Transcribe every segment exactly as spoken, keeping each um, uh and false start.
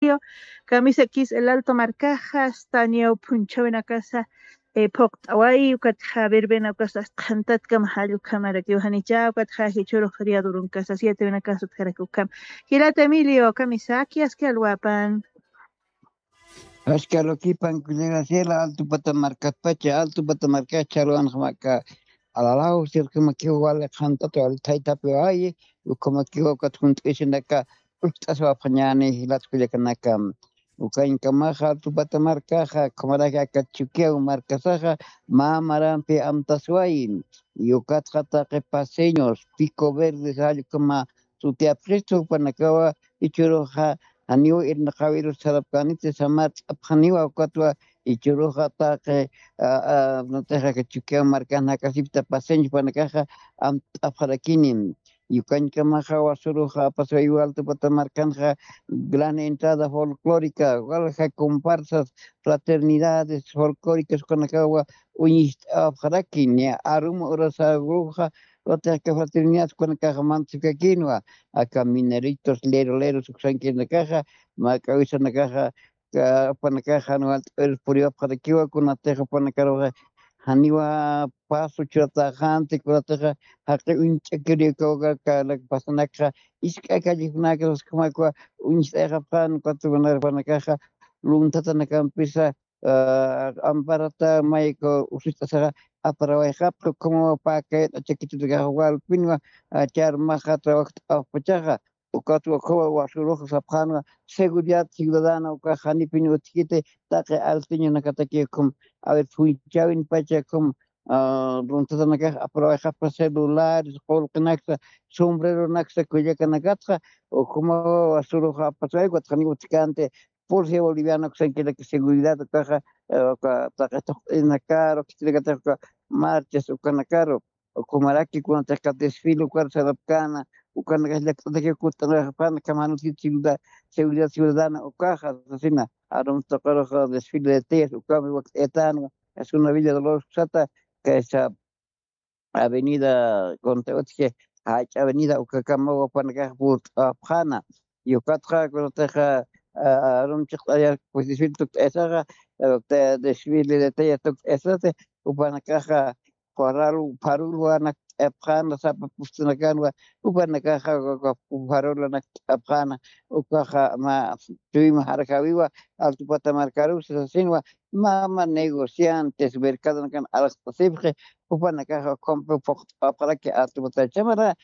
Emilio, kamisakis El Alto markaxa, astaniw phunchhawinakasa, eh, phuqt'awayi, ukatxa verbena ukasa, qhantatkama jall ukhamarakiw janicha, ukatxa jichhürux feriado urunkasa, siete winakasa utjaraki ukham. Jilata Emilio, kamisaki, aski alwapan. Aski alwakipan, kullaka Graciela, Alto Pata markatpacha, Alto Pata markacha, alwanxmaka, alalaw, sirkamakiw wali qhantat, wali thaythapi wayi, ukhamakiw ukat junt'isinaka, ucht'aswapxañäni, jilat kullakanaka. Ukañkamaxa, Alto Pata markaxa, ukhamaraki aka Chukiyaw markasaxa, mä marampi amtaswayi, ukatxa taqi paceños, Pico Verde, jall ukhama sutiyapxistu, jupanakawa, jichhüruxa, janiw irnaqäwirus sarapkäniti, samart'apxaniwa, ukatwa, jichhüruxa taqi, a, a, natixa aka Chukiyaw markan jakasipta paceños jupanakaxa, amt'apxarakini. Ukañkamaxa, wasüruxa, apaswayiwa Alto Pata markanxa, gran entrada folclórica, walja comparsas, fraternidades folclóricas, ukanakawa, uñist'apxaraki, niya arum urasüruxa, Watiqka fraternidad kunakaxa mantasipkakinwa, aka mineritos, leroleros, uksankirinakaxa, mä k'awisanakaxa, ka-, jupanakaxa, jan walt'äwirus puriwapxarakiwa, kunatix jupanakaruxa, janiwa paso churatäxänti, kunatixa, jaqi uñch'akiriw kawkaka, lak pasanakxa, isk'a callejonakas, uskhamakwa, uñst'ayxapxän, ukat jupanakaxa, luntatanakampisa, ah, amparata mayku usucht'asaxa aparawayxapxi, ukhamawa pä kayt'achakitutakaxa walpinwa, ah, charmaxa trabajt'awpachaxa, ukatwa ukhamawa wasürux sapxänwa seguridad ciudadana, ukax janipin utjkiti taqi alteñonakataki ukham, a ver, phunchhawinpacha ukham, ah, runtatanakax aparawayxapxi celulares, qullqinaksa, sombreronaksa, kullakanakatxa, ukhamawa wasürux apaswayku, ukat janiw utjkänti, Policía Boliviana uksankiraki seguridad ukaxa, eh, uka taqi tuqt'inakaru, khitinakatix uka marchas ukanakaru, ukhamaraki kunatix aka desfile ukar sarapkäna, ukanakax llakt'atakiw kutt'anxapxäna, ukham jan utjkiti seguridad, seguridad ciudadana ukaxa, sasina, arum tuqirux desfile de teas, ukham wakt'ayatänwa, es una Villa Dolores uksata, kaysa, avenida, kunatix utji, jach'a avenida, ukakamawa jupanakax purt'apxäna. Ukatxa, kunatixa, a, arum chiqt'ayar, pues, desfile tukt'aysaxa, eh, te-, desfile de teas tukt'aysati, jupanakaxa, farol, farolwa nakt'apxäna, sapa pustanakanwa, jupanakaxa, uka, uka farolwa nakt'apxäna, ukaxa, mä, chuyma jarjawiwa, Alto Pata markarus, sasinwa, mä, mä negociantes, mercadonakan alaxt'asipxi, jupanakaxa ukham phuqt'apxaraki Alto Pata. Chhamara,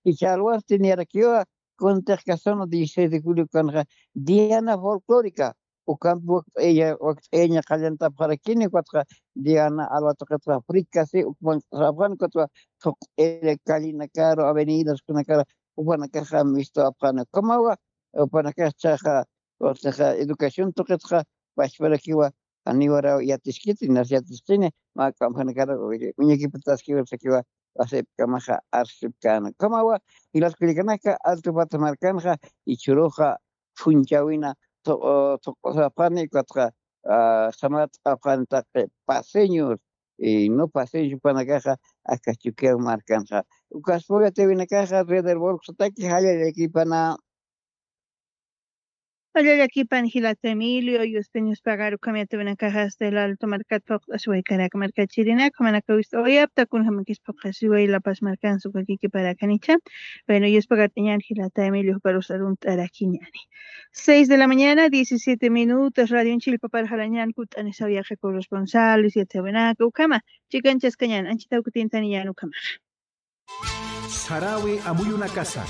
jichha alwasti niyarakiwa, kunatix aka zona dieciséis de julio ukanxa, Diana Folclórica, ukampi wakt'aya, wakt'ayaña qallantapxarakini, ukatxa Diana alwa tuqitxa frikasi, ukman sapxän, ukatwa tuqt'iri callenakaru, avenidas kunakaru, jupanakaxa mistuwapxäna, ukhamawa, jupanakax jichhaxa, ukatxa educación tuqitxa, pachparakiwa, janiwaraw yatiskiti, nas yatiskini, mä k'amjanakar uñakipataskiwa sakiwa, wasipkamaxa arsipkäna. Ukhamawa, jilat kullakanaka, Alto Pata markanxa, jichhüruxa, phunchhawina, thu-, o, thuq'usapxani, ukatxa, ah, samart'apxani taqi paceños, y no paceños jupanakaxa, aka Chukiyaw markanxa. Ukaspaw yatiyäwinakaxa, Red Herbol uksataki, jallallakipana. Jallallakipana jilata Emilio, yuspañuspagar ukham yatiyäwinakaxa hasta El Alto markat phuqt'asiwaykarak markachirinak, jumanakaw wist'awayapxta, kunjamakis phuqasiway La Paz markansa uka kikiparakan jichha. Bueno, yuspagart'añäni jilata Emilio, juparus arunt'arakiñäni. Seis de la mañana, diecisiete minutos, radionchis jilpapar jalañäni, kutt'anisaw yaqha corresponsales, yatiyäwinaka, ukhama, chikanchaskañäni, anchhitaw kutintaniñäni ukhamaxa. Sarawi amuyunakasa,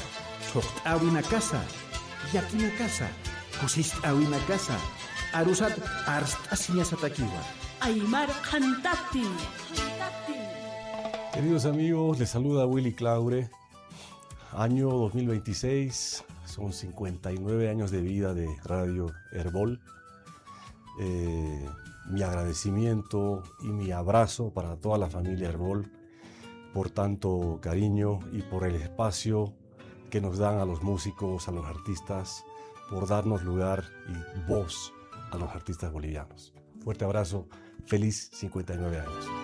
thuqt'äwinakasa, llakinakasa, kusist'äwinakasa, arusat arst'asiñasatakiwa. Aymar qhantati. Queridos amigos, les saluda Willy Claure. Año dos mil veintiséis, son cincuenta y nueve años de vida de Radio Herbol. Eh, mi agradecimiento y mi abrazo para toda la familia Herbol por tanto cariño y por el espacio que nos dan a los músicos, a los artistas, por darnos lugar y voz a los artistas bolivianos. Fuerte abrazo, feliz cincuenta y nueve años.